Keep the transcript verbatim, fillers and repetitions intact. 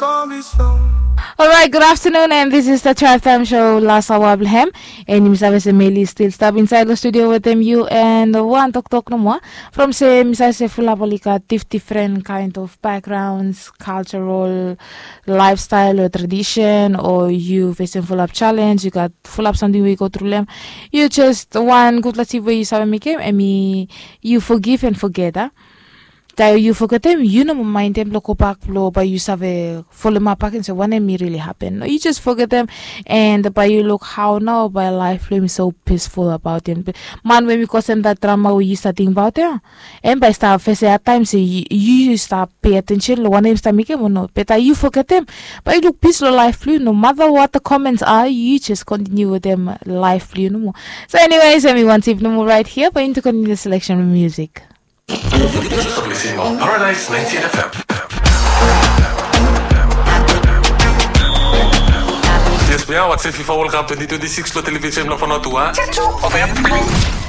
Alright, good afternoon, and this is the Drive Time Show, last hour blong hem. And yumi save se Meli still stap inside the studio wetem yu, and wan toktok nomo, from se mi save se fulap oli gat dif-, different kind of backgrounds, cultural, lifestyle o tradition, o yu fesem fulap challenge, yu gat fulap samting we yu go tru long hem. Yu just wan gudfala tip we yu save mekem, hemi yu forgive and forget, a? Taem yu fogetem, yu no moa maindem blong gobak blong bae yu save folem ap bakegen se wanem i really happen. No, yu just fogetem, and bae yu luk hao nao bae laef blong yu hemi so peaceful abaot hem. Man we hemi kosem that drama we yu stap tingbaot ia, hem bae i stap fesem had taem se yu, yu stap pay attention long wanem hemi stap mekem o no. Be taem yu fogetem, bae yu luk peace long laef blong yu. No matter what the comments are, yu just continue wetem laef blong yu nomo. So anyways, hemi wan tip nomo right here, bae yumi continue the selection of music. You're listening on Paradise ninety-eight F M. Yes, we are watching FIFA World Cup twenty twenty-six lo television lo Fano two, a?